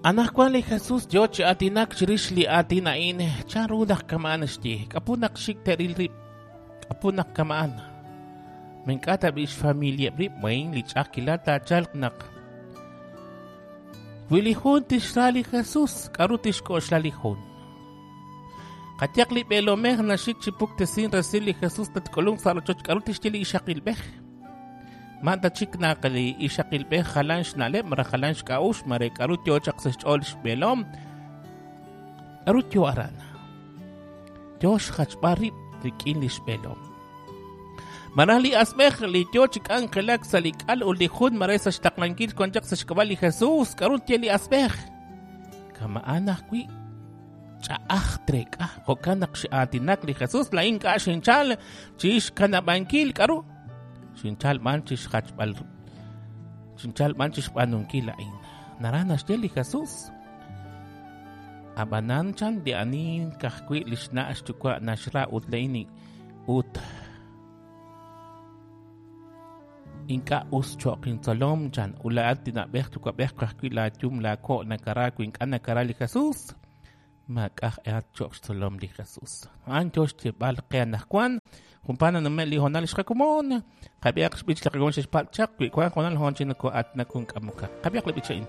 Anaqwan li Jesús yo chi aatinak chirix li aatin a'in, chanru naq kama'an xye, k'apu naq xik te'ril rib', k'apu naq kama'an. Ma ink'a' tab'i' xfamilieb' rib', wahin li ch'a'ajkilal taachalq naq wi li jun tixra li Jesús, k'aru tixk'oxla li jun? Qayehaq li b'eelomej naxik chi puktesin resil li Jesús tatk'ulunq sa' rochoch, k'aru tixye li ixaqilb'ej? Ma ta chik naq li ixaqilb'ej jalan xna'leb' malaj jalan xk'a'uxl, mare k'aru yo chaq sa' xch'ool xb'eelom? K'aru yo aran? Yo xjachb'al rib' rik'in li xb'eelom. Malaj li asb'ej li yo chi k'anjelak sa' li k'al ut li jun mare sa' xtaqlankil wan chaq sa' xk'ab'a' li Jesús, k'aru tye li asb'ej? Kama'an ajwi' ch'a'aj treek'a. Jo'kan naq x'aatinak li Jesús, laa'in ink'a' xinchal chi xkanab'ankil k'aru? Xinchal b'an chi xjachb'al xinchal b'an chi xb'aanunkil a'in. Naraj naxye li Jesús. Ab'anan chan li ani ka'ajwi' li xna' xyuwa' naxra ut laa'in ut ink'a' us cho'q intzolom chan ut laa'at li na'b'ej yuwa'b'ej ka'ajwi' laayum laako' nakara wi ink'a' nakara li Jesús maak'a' aj cho'q xtzolom li Jesús. A'an yo xyeeb'al qe anaqwan junpaat nanume' li hoonal xqakomon qab'ihaq xb'ich li qakomon xe'xpatz' chaq wi wank hoonal hoon chi noko'aatinak jun k'amokaq qab'ihaq li b'ich a'in.